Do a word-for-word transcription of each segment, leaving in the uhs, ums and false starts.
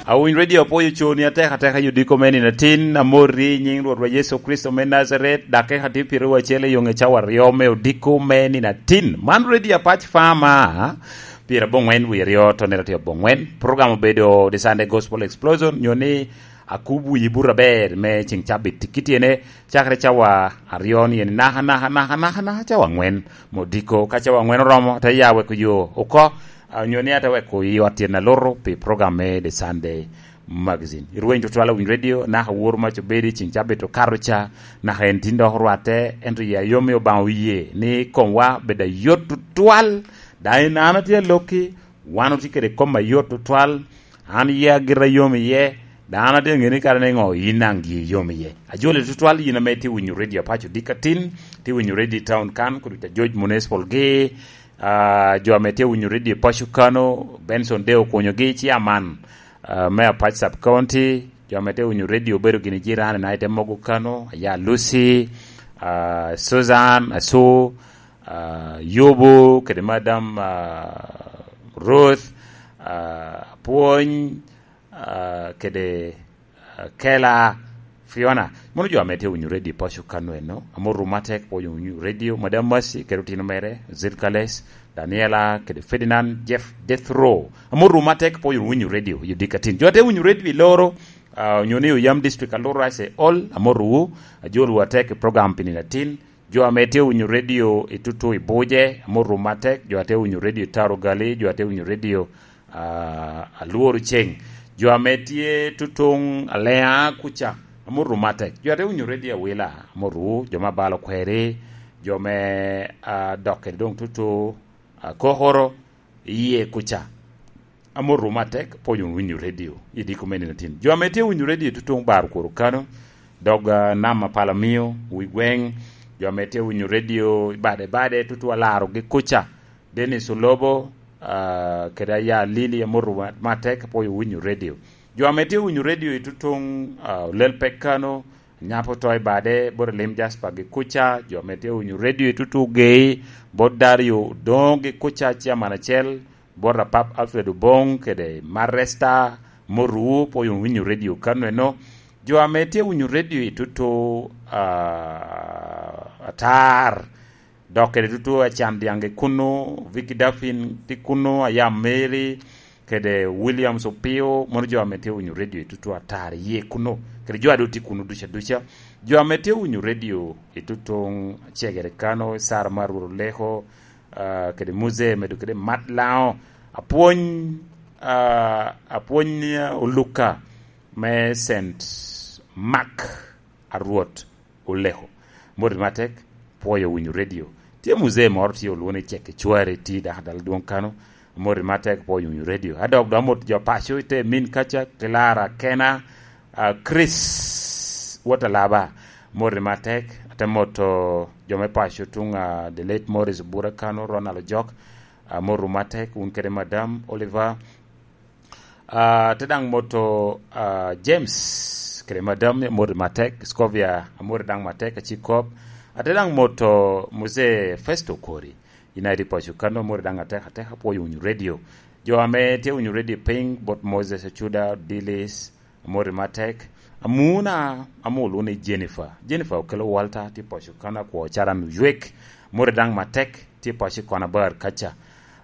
Awiny Radio apwoyo coni atek ateka i odiko me nino atin, amorri i nyiŋ Rwotwa Yecu Kricito me Najaret, dakika tye pyeraryo acel i yoŋe cawa aryo me odiko me nino atin. Man Radio Apac Farmer, pyeraboŋwen wie aryo, tonere tye aboŋwen. Program obedo The Sunday Gospel Explosion, nyo ni akub wi buto aber me ceŋ cabit. Kit ene, cakere cawa aryo ni eni naka, naka, naka, naka, naka cawa aŋwen me odiko. Ka cawa aŋwen oromo, te ya weko yo oko, ah, nyo ni ate weko i ot tyen aluto pi program me The Sunday Magazine. Irweny tutwal awiny Radio, naka woro mac obedo i ceŋ cabit okato ca, naka en tin dok orwatte, ento ya yom i Obaŋa oye ni komwa bed ayot tutwal, daŋ en an atye alokki, wan otye kede kom ayot tutwal, an yia gira yom iye, dano atye ŋe ni kara ni ŋo yin naŋ gi yom iye. Ajoli tutwal yin ame tye winyo Radio Apaco Dikatin, tye winyo Radio Town kan, kudu ca George Municipal gi, ah, jo ame tye winyo Radio Paco Kano, Benson de okonyo gi, chairman, ah, me Apac Sub County, jo ame tye winyo Radio obedo gini jirani na ite mogo Kano, aya Lucy, ah, Susan, Asu, ah, Yobo, kede Madam, ah, Ruth, ah, Apwony, ah, kede, ah, Kela, Fiona. Mono jo ame tye winyo Radio Paco Kano eno. Amor ru matek pwoyo winyo Radio. Madam Mercy, kede otino mere, Zilkales, Daniela, kede Ferdinand, Jeff, Death Row. Amor ru matek pwoyo winyo Radio, i Dikatin. Jo ate winyo Radio i loro, ah, onyo ni oyam district alura se all, amor ru, ajol wa tek i program pi nino atin. Jo ame tye winyo Radio i tutu i Buje, amor ru matek. Jo ate winyo Radio i Tarugali, jo ate winyo Radio, ah, Alworo Ceng. Jo ame tye tutuŋ Alea kuca, amor ru matek. Jo ate winyo Radio Awila, amor ru, jo me Abalo Kweri, jo me, ah, dok kede doŋ tutu, ah, Kokoro, iye kuca. Amor ru matek, pwoyo winyo Radio, i diko me nino atin. Jo ame tye winyo Radio tutuŋ bar kworo Kano, dog, ah, nam a Palamio, wi gweŋ, jo ame tye winyo Radio i bade bade, tutu alaro gi kuca. Dennis Olobo, ah, kede aya Lili, amor ru ma-, matek, pwoyo winyo Radio. Jo ame tye winyo Radio i tutuŋ, ah, Olel Pek Kano, Nyapo to i bade, bot Elim Jasper gi kuca, jo ame tye winyo Radio i tutu Gei, bot Dario Odongo gi kuca, chairman acel, bot Apap Alfred Obong kede Maresta Moru, pwoyo winyo Radio Kano eno. Jo ame tye winyo Radio i tutu, ah, Atar, dok kede tutu Acan Diaŋ gi kuno, Vicky Daffin tye kuno, Ayam Mary, kede Williams Opio, mono jo ame tye winyo Radio i tutu Atar iye kuno, kede jo a doŋ tye kuno duca duca. Jo ame tye winyo Radio i tutuŋ Cegere Kano, Sara Marur Oleko, ah, kede Muzee medo kede Mat Laŋo, Apwony, ah, Apwony, ah, Oluka me Saint Mark a Rwot Oleko. Moti matek, pwoyo winyo Radio. Tye muzee moro tye olwoŋo ni Cek Icwari, tye dako dala dwoŋ Kano. Moti matek, pwoyo winyo Radio. A dok dok amot jo paco i te min kaca, Clara Kena, ah, Chris Watalaba. Moti matek, ate moto jo me paco tuŋ, ah, the late Morris Obura Kano, Ronald Ojok. Ah, moti matek, wun kede Madam Oliver. Ah, ate daŋ moto, ah, James kede Madam, amoti matek, Scovia, amoti daŋ matek, acik kop. Ate daŋ moto Mzee Festo Kori, United Paco Kano, amoti daŋ atek atek, apwoyo winyo Radio. Jo ame tye winyo Radio piny, bot Moses Acuda, Dilis, amoti matek. Amuna, ame olwoŋo ni Jennifer. Jennifer Okello Walter, tye Paco Kano, akwo Caran Oywek, amoti daŋ matek, tye Paco i Konabar kaca.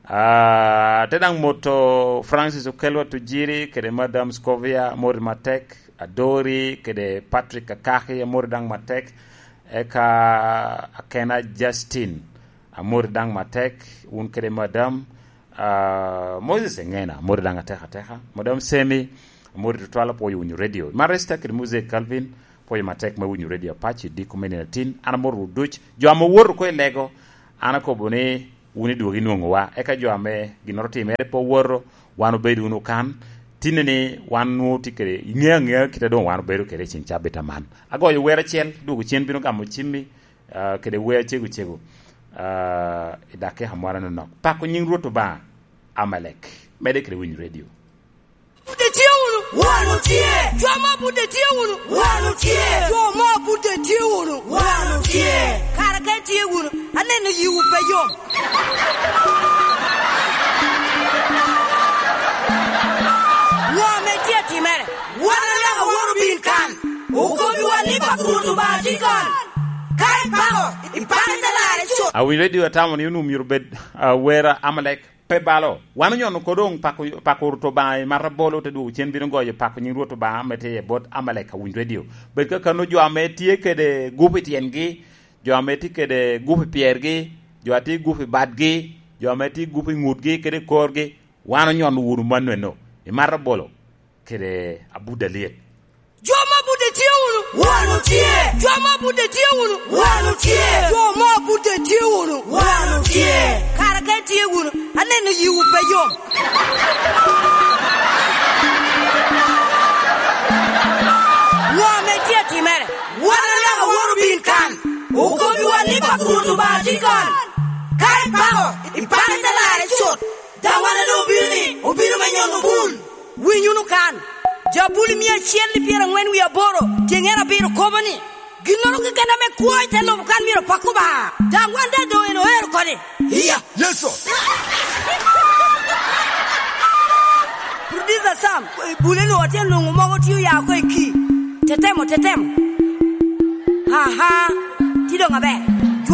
Ah, ate daŋ moto Francis Okello Tujiri kede Madam Scovia, amoti matek, Adori kede Patrick Akaki, amoti daŋ matek, eka Akena Justin, amoti daŋ matek, wun kede Madam, ah, Moses Engena, amoti daŋ atek ateka, Madam Semi, amoti tutwal, apwoyo winyo Radio. Maresta kede Mzee Calvin, pwoyo matek me winyo Radio Apac i diko me nino atin, an amoti ru duc, jo ame owoto oko i lego, an akobo ni, wun idwogo inwoŋowa. Eka jo ame ginnoro otimere pe owoto, wan obedo wunu kan. Tinne ni wan nwoŋo tye kede, iŋeo aŋea kite doŋ wan obedo kede i cen cabit aman. Agoyo wer acel, dwogo cen bino gamo cimmi, ah, kede wer acego cego, ah, i dakika moro anonok. Pako nyiŋ Rwot Obaŋa, Amalek. Mede kede winyo Radio. Budde tye wunu? Wan otye. Jo mo budde tye wunu? Wan otye. Jo mo budde tye wunu? Wan otye. Kara ka itye wunu, aneno yiwu pe yom. Ŋo ame tye atim? Ikon, ka ipako, ipako i te larre cut. Awinyo redio atamo ni onwoŋo myero bed, ah, wer Amalek pe balo. Wan onyono ko doŋ pako, pako Rwot Obaŋa i marra bolo te dwogo cen bino goyo pako nyiŋ Rwot Obaŋa ame tye i bot Amalek. Awinyo redio. Bed ka kano jo ame tye kede gup i tyengi, jo ame tye kede gup i pyergi, jo a tye gup i badgi, jo ame tye gup i ŋutgi kede i korgi, wan onyono wunu mannono i marra bolo kede Abuda Lyet. Jo ma Abuda tye wunu? Wan otye. Jo ma Abuda tye wunu? Wan otye. Jo ma Abuda tye wunu? Wan otye. Kara ka itye wunu, aneno yiwu pe yom. Ŋo ame tye atimere? Wan anaka woro bin kan. Okobbiwa ni pako Rwot Obaŋa tye kan. Ka ipako, ipako i te larre cut. Daŋ wan adu obino ni, obino me nyono bul. Winy wunu kan. Jabuli mia acel i pyeraŋwen wie aboro, tyeŋere abiro kobo ni, "Ginnoro keken ame kwo i te lobo kan myero pak Obaŋa." Daŋ wan daŋ doŋ en oero kodi. Iya, Yecu. Producer Sam, bule-nu atye nwoŋo mogo tye oya oko i ki. Tetemo, tetemo. Aha, ti doŋ aber.